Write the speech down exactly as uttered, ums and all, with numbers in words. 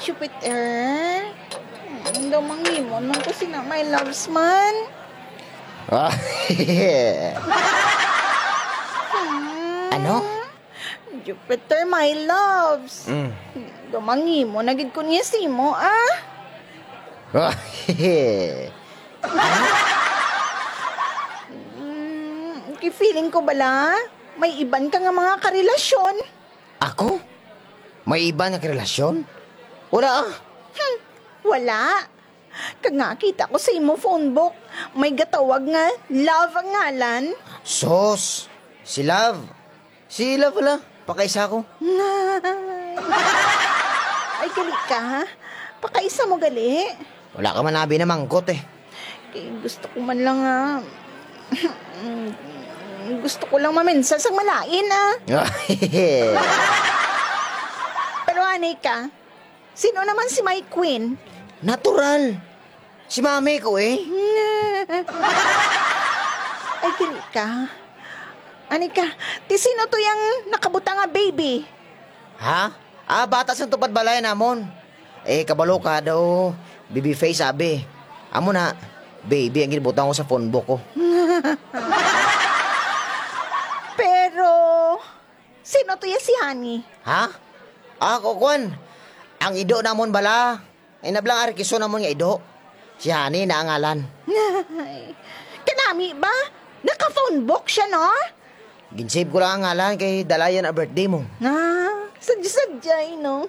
Jupiter? Hmm, daw manghimo man ko sina my loves man. Ah, Ano? Jupiter, my loves. Mm. Daw manghimo na gid ko niya simo, ah. Ah, Mm, kay feeling ko bala, may iban ka nga mga karelasyon. Ako? May iban nga karelasyon? Wala ah. Hmm, wala. Kag nga kita ko sa imo phone book, may gatawag nga Love ang ngalan. Sos, si Love. Si Love wala. Pakaisa ko. Ay, gali ka, ha? Pakaisa mo gali. Wala ka man abi na mangkot eh. Kay gusto ko man lang nga... gusto ko lang mamensa sang malain, ah. Pero anay ka, sino naman si my queen? Natural. Si mami ko eh. Ay, dili ka. Ani ka, ti sino to yang nakabutang nga baby? Ha? Ah, bata sang tupad balay namon. Eh, kabalo ka daw, baby face abi. Amo na, baby ang ginbutang ko sa phone book ko. Pero, sino to ya si Honey? Ha? Ah, ko kwan. Ang ido namon bala. Ay nablang arkiso namon nga ido. Si Honey na ang ngalan. Kanami ba? Naka-phone book siya, no? Ginsave ko lang ang ngalan kay dalayan ang birthday mo. Ah, sadya-sadya, eh, no?